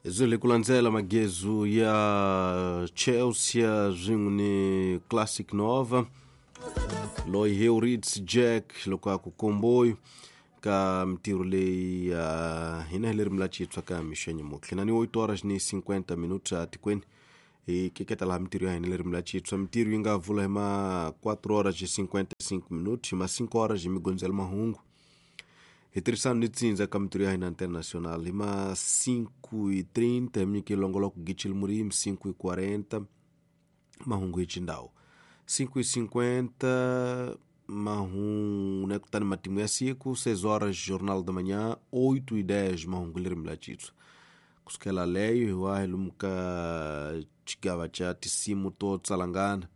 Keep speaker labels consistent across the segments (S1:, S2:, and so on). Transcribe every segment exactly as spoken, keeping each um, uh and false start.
S1: Zile kulandzela magezu ya Chelsea swin'we ni Classic Nova loyi Heurits Jack loko a ku komboyi ka mintirho leyi ya hina hi lerimi la Xitswa ka mixenye mutlhe na ni oito horas ni cinquenta minutos atikweni hi keketa laha mintirho ya hina lerimi la Xitswa mintirho yi nga vula hi ma quatro horas e cinquenta e cinco minutos hi ma cinco horas hi migondzela mahungu hi tirhisana ni tsindza ka mintirho ya hina internacional hi ma cinco e trinta hi minyike longoloko gichil murimi cinco e quarenta mahungu hi xindhawu cinco e cinquenta mahungu né kutani matimu ya siku seis horas jornal da manhã oito e dez mahungu lerimi la Xitswa kusukela leyo hi wa hi lomu ka xigava xa tinsimu to tsalangana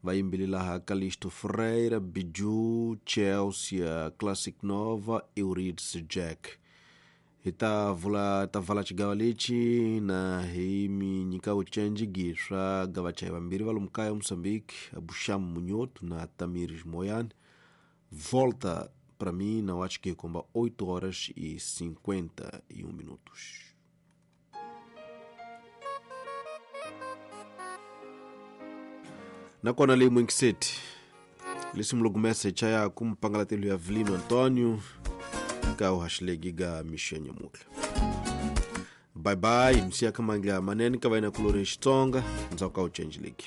S1: va yimbelela ha Calixto Ferreira, Biju, Chelsea, Classic Nova, Euridice Jack. Hi ta vula ta vala xigava lexi na hi mi nyika vucenji swa gavacha vambirhi va lomu kaya Moçambique, Abusham Munhoto na Tamires Moyane. Volta para mim, não acho que comba oito horas e cinquenta e um minutos. Nakona leyi muingiseti lisimu lokumesa chaya kumpangalatelo ya Vilino Antonio ka uhaxilegi ga mixenye mutla. Bye bye, msiya kamangla manene ka vaina kulori Xitsonga ndzhaku ka u change league.